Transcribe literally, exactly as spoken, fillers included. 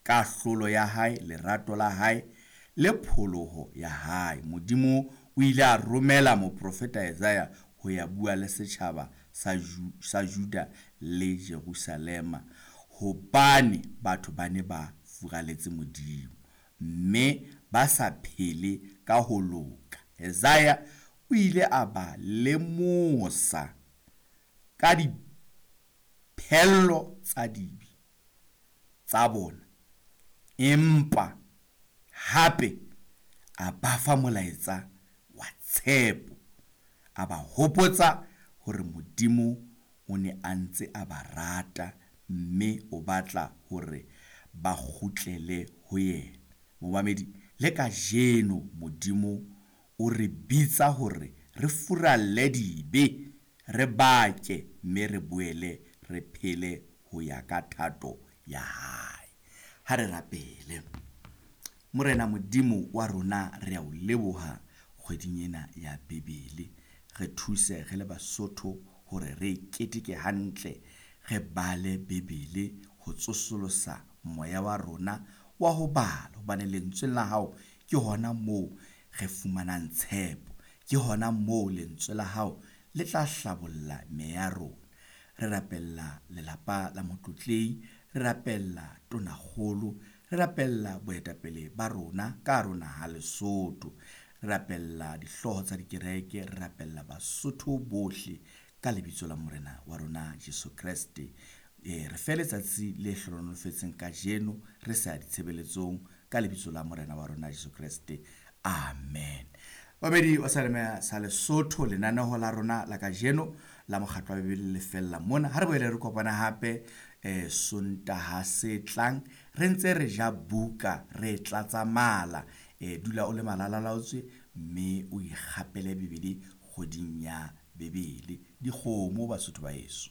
Kahlolo ya hae, lerato la hae le pholoho ya hae. Modimo o ile a romela moprofeta Isaiah ho ya bua le setjhaba sa Ju sa Juda le Jerusalema, hobane batho ba ne ba furaletse Modimo mme ba sa phele ka ho loka. Isaiah o ile a ba lemosa ka diphello tsa dibe tsa bona, empa hape a ba fa molaetsa wa tshepo. A ba hopotsa hore Modimo o ne a ntse a ba rata mme o batla hore ba kgutlele ho yena. Momamedi, le kajeno Modimo o re bitsa hore re furalle dibe, re bake mme re boele re phele ho ya ka thato ya hae. Ha re rapele. Morena Modimo wa rona, re a o leboha kgweding ena ya Bibele. Re thuse re le Basotho hore re keteke hantle, re bale Bibele ho tsosolosa moya wa rona wa ho bala, hobane lentsweng la hao ke hona moo re fumanang tshepo, ke hona moo lentswe la hao le tla hlabolla meya ya rona. Re rapella lelapa la Motlotlehi, re rapella Tonakgolo, re rapella boetapele ba rona ka hare ho naha Lesotho. Re rapella dihlooho tsa dikereke, re rapella Basotho bohle ka lebitso la Morena wa rona Jesu Kreste. E, re fe letsatsi le hlohonolofetseng kajeno re sa ya ditshebeletsong ka lebitso la Morena wa rona Jesu Kreste. Amen. Babedi wa Saleme sa Lesotho, lenaneho la rona la kajeno la mokgatlo wa Bibele le fella mona. Ha re boele re kopana hape eh, Sontaha se tlang, re ntse re ja buka, re tlatsa mala. Eh, dula o le malalalaotswe mme o ikgapele Bibele kgweding ya Bibele. Dikgomo Basotho ba heso.